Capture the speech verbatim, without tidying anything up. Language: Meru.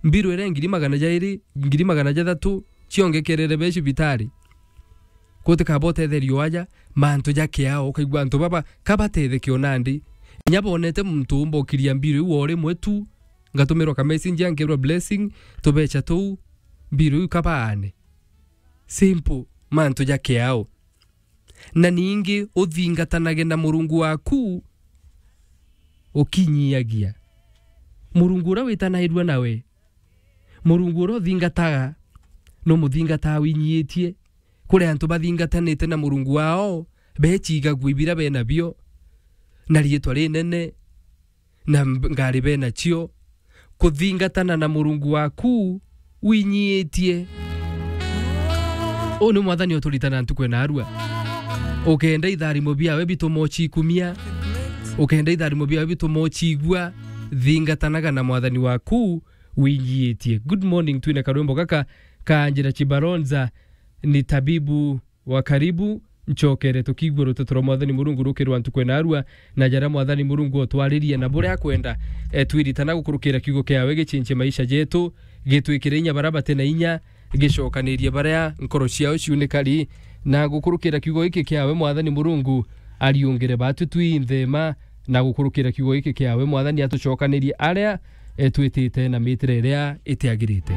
Mbiru iria ngiri magana jairi, ngiri magana jathatu, ciongekerere be cibitari. Gutikaba utetherio aja, mantu ja kiao, ukaigua antu baba, kabatetheke o nandi. Inya bonete muntu umbokiria mbiru iu o rimwe tu, ngatumirwa ka messenger, nkerwa blessing, tubecha tuu, mbiru iu kabaane. Simple, mantu ja kiao. Na ningi uthingatanage na Murungu waku ukinyiagia. Murungu uria witanairua nawe, Murungu uria uthingataga, no muthingataa winyiitie. Kuri antu bathingatanite na Murungu wao, bechigagua ibira bena bio, na riitwa rinene, na mb-, ngari benacio, kuthingatana na Murungu waku winyiitie. Uu ni Mwathani uturitana ntuku ena arua. Ukenda itharimo biawe bitumochikumia, ukenda itharimo biawe bitumochigua, thingatanaga na Mwathani waku winyiitie. Good morning, twina karwimbo gaka ka Angela Chibalonza, ni tabibu wa karibu, ncokere tukigua ruteto rwa Mwathani Murungu rukirwa ntuku ena arua, na jaria Mwathani Murungu otwaririe na buria akwenda, e, twiritana gukurukira kiugo kiawe gichinchie maisha jetu, gitwikire inya baria bati na inya, gicokanirie baria nkoro ciao ciunikari, na gukurukira kiugo giki kiawe Mwathani Murungu ariungire batu twinthe ma, na gukurukira kiugo giki kiawe Mwathani atucokanirie aria, e, twitite na mitire iria itiagirite.